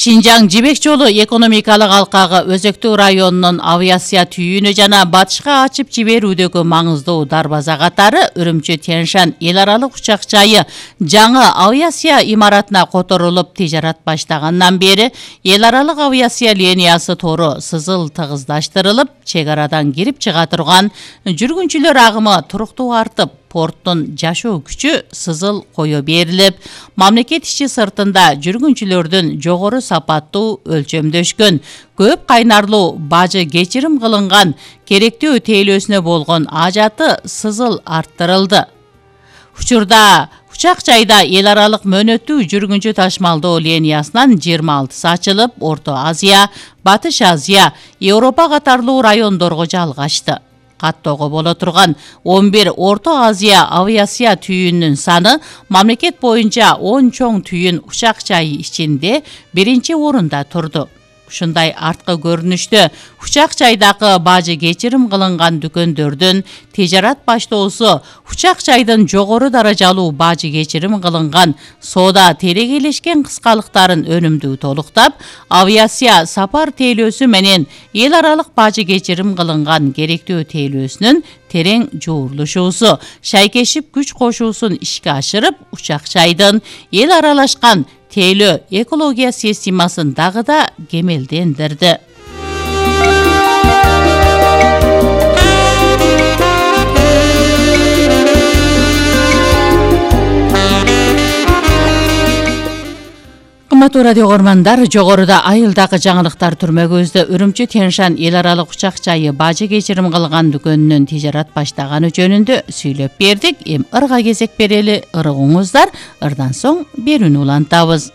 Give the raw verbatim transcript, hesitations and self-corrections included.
Шинжаң Жибек жолу экономикалык алкагы Өзөктүү районунун авиация түйүнү жана батышка ачып жиберүүдөгү маңыздуу дарбаза катары Үрүмчү Тянь-Шань эл аралык учак жайы жаңы авиация имаратына которулуп тижарат баштагандан бери эл аралык авиация линиясы тору сызыл тыгыздаштырылып, чек арадан кирип чыга турган жүргүнчүлөр агымы туруктуу артып, порттун жашоо күчү сызыл кое берилип, мамлекет ичи сыртында жүргүнчүлөрдүн жогору сапаттуу өлчөмдөшкөн, көп кайнарлуу бажы кечирим кылынган, керектүү тейлөөсүнө болгон ажаты сызыл арттырылды. Учурда учак жайда эл аралык мөөнөттүү жүргүнчү ташмалдоо линиясынан жыйырма алтысы ачылып, Орто Азия, Батыш Азия, Европа катарлуу райондорго жалгашты. Каттоого боло турган он бир Орто Азия авиация түйүнүнүн саны мамлекет боюнча он чоң түйүн учак жайы ичинде биринчи орунда турду. Ушундай арткы көрүнүштө учак жайдагы бажы кечирим кылынган дүкөндөрдүн тижарат баштоосу, учак жайдын жогору даражалуу бажы кечирим кылынган соода терегейлешкен кыскалыктарын өнүмдүү толуктап, авиация сапар тейлөөсү менен эл аралык бажы кечирим кылынган керектүү тейлөөсүнүн терең жуурулушуусу, шайкешип күч кошуусун ишке ашырып, учак жайдын эл аралашкан тейлөө экология системасын дагы да кемелдендирди. Кымбаттуу радио көрөрмандар, жогоруда айылдагы жаңылыктар түрмөгүбүздө Үрүмчү Тянь-Шань эл аралык учак жайы бажы кечирим кылган дүкөнүнүн тижарат баштаганы жөнүндө сүйлөп бердик. Эми ырга кезек берели, ырыгыңыздар, ырдан соң берүүнү улантабыз.